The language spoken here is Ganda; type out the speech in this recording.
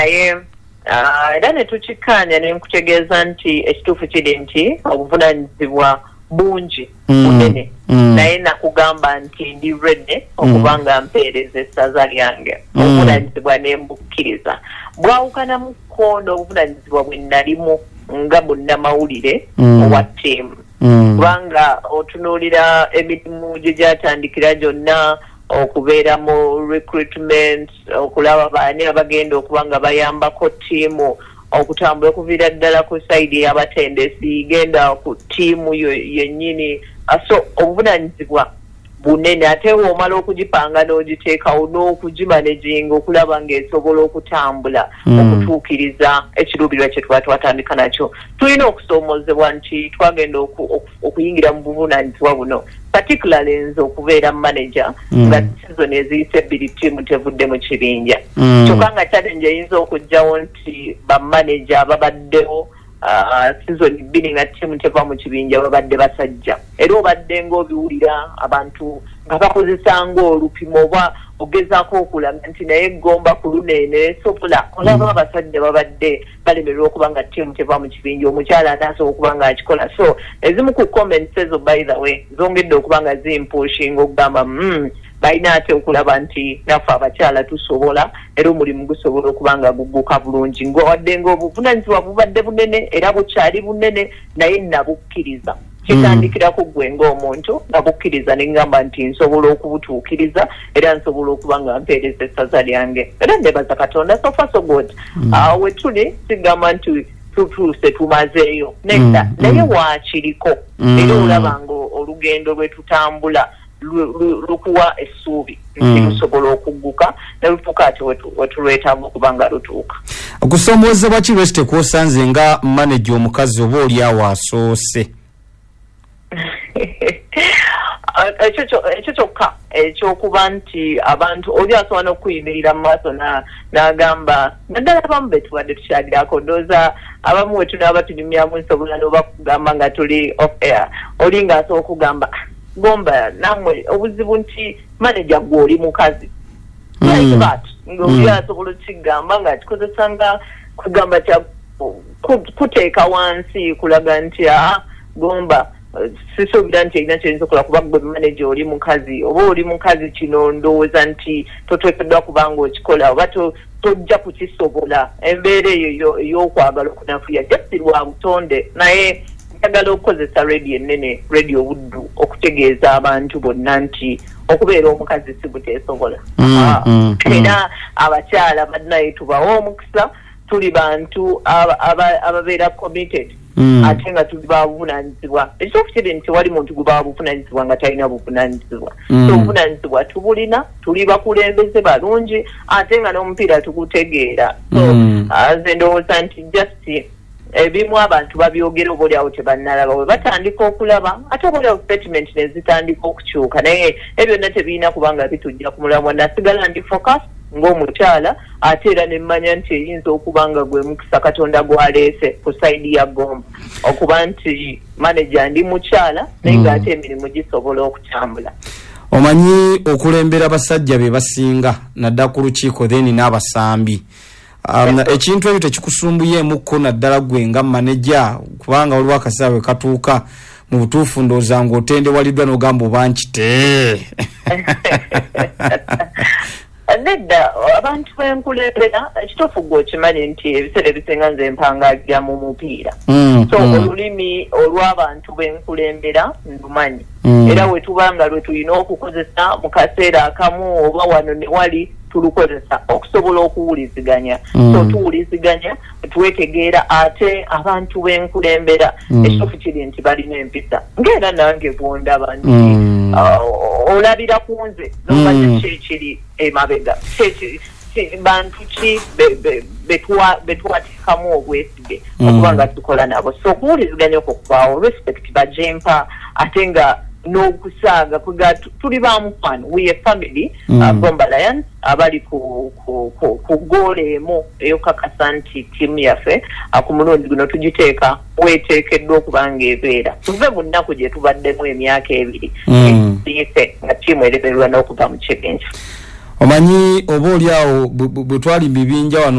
Naye era ne tukikkaanya, ne nkutegeeza nti ekituufu kiri nti obuvunaanyizibwa bungi, bunene, naye nakugamba nti ndi ready okuba nga mpeereza essaza lyange. Obuvunaanyizibwa ne mbukkiriza, bwawukanamuko n'obuvunaanyizibwa bwe nalimu nga munnamawulire owa ttiimu, kubanga otunuulira emirimu gye gyatandikira gyonna, okubeera mu recruitment, okulaba baani abagenda okuba nga bayambako ttiimu okutambula, okuviira ddala ku side y'abatendesi, genda ku ttiimu yennyini. So obuvunaanyizibwa bunene, ate w'omala okugipanga n'ogiteekawo n'okugimanaginga okulaba ng'esobola okutambula okutuukiriza ekiruubirirwa kye tuba twatandika nakyo. Tulina okusoomoozebwa nti twagenda okuyingira mu buvunaanyizibwa buno, particularly nze okubeera manager, nga season eziyise 2 ttiimu tevudde mu kibinja. Kyokka nga challenge eyinza okugjawo nti bamanager babaddewo season 2 nga ttiimu teva mu kibinja babadde basajja, era obadde ng'obiwulira abantu nga bakozesa ng'olupimo oba ogezaako okulaga nti naye Gomba ku luno eno esobola. Olaba abasajja babadde balemererwa okuba nga ttiimu teva mu kibinja, omukyala anaasobola okuba nga akikola? So ezimu ku comments ezo, by the way, zongedde okuba nga zimpushinga okugamba balina ate okulaba nti naffe abakyala tusobola, era omulimu gusobola okuba nga gugguka bulungi. Wadde nga obuvunanyizibwa bubadde bunene era bukyali bunene, naye nabukkiriza. Kitandikirako ggwe ng'omuntu. Nabukkiriza ne ŋŋamba nti nsobola okubutuukiriza era nsobola okuba nga mpeereza essaza lyange, era nebaza Katonda, so far so good. We tuli sigamba nti tutuuse, tumazeeyo, nedda, naye waakiriko era olaba nga olugendo lwe tutambula lukuwa essuubi nti lusobola okugguka ne lutuuka ate wetulwetaaga okuba nga lutuuka. Okusoomoozebwa ki lweki tekwosanze nga manager omukazi, oba oli awo asoose? Ekyo kyokka ekyokuba nti abantu oli asobola n'okuyimirira mu maaso n'agamba, naddala abamu be tubadde tukyalirako, ndowooza abamu we tunaaba tunyumyamu nsobola n'oba kugamba nga tuli off air, oli ng'asobola okugamba, "Ah, Gomba nammwe obuzibu nti manager gwe oli mukazi," like that, ng'oli asobola okukigamba ng'akikozesa nga kugamba kya kuteeka wansi, kulaga nti aa, Gomba sisuubira nti erina kyeyinza okukola kuba gwe manager oli mukazi, oba oli mukazi kino ndowooza nti toteekeddwa kuba nga okikola oba tojja kukisobola. Embeera eyo ey'okwagala okunafuya just lwa butonde, naye njagala okukozesa radio ennene, Radio Buddu, okutegeeza abantu bonna nti okubeera omukazi si buteesobola. Era abakyala bannaye tubawe omukisa. Tuli bantu ababeera committed, ate nga tuli babuvunanyizibwa. Ekituufu kiri nti tewali muntu guba buvunanyizibwa nga talina buvunanyizibwa. So obuvunanyizibwa tubulina, tuli bakulembeze balungi, ate nga n'omupiira tugutegeera. So nze ndowooza nti just ebimu abantu babyogera oba oliawo tebannalaba. Bwe batandika okulaba, ate oba oliawo statement ne zitandika okukyuka, naye ebyo byonna tebirina kubanga bitujja ku mulamwa. Nasigala ndi focus ng'omukyala, ate era nemmanya nti eyinza okuba nga gwe mukisa Katonda gwaleese ku side ya Gomba okuba nti manager ndi mukyala, naye ng'ate emirimu gisobola okutambula. Omanyi okulembera abasajja be basinga naddala ku lukiiko, then n'abasambi, ekintu ekyo tekikusumbuyeemukko, naddala gwe nga manager, kubanga waliwo akaseera bwe katuuka mu butuufu ndowooza ng'otendewaliddwa n'ogamba oba nkite? Nedda, abantu benkulembera, ekituufu gwe okimanyi nti ebiseera ebisinga nze mpangalira mu mupiira, so olulimi olw'abantu benkulembera ndumanyi, era we tuba nga lwe tulina okukozesa mu kaseera akamu oba wano ne wali tulukozesa okusobola okuwuliziganya. So tuwuliziganya, twetegeera, ate abantu benkulembera, ekituufu kiri nti balina empisa, ng'era nange bwondaba nti olabira ku nze nomanya ki ekiri emabega, bantu ki betwateekamu obwesige okuba nga tukola nabo. So okuwuliziganya okwo kubaawo, respect bagimpa, ate nga n'okusaaga kwega tuli ba mukwano, we a family, Gomba Lions, abali ku goal emu ey'okukakasa nti ttiimu yaffe ku mulundi guno tugiteeka weeteekeddwa okuba nga ebeera, tuve mu nnaku gye tubaddemu emyaka 2 eyise nga ttiimu eremererwa n'okuva mu kibinja. Omanyi oba oli awo bwe twali mu bibinja wano.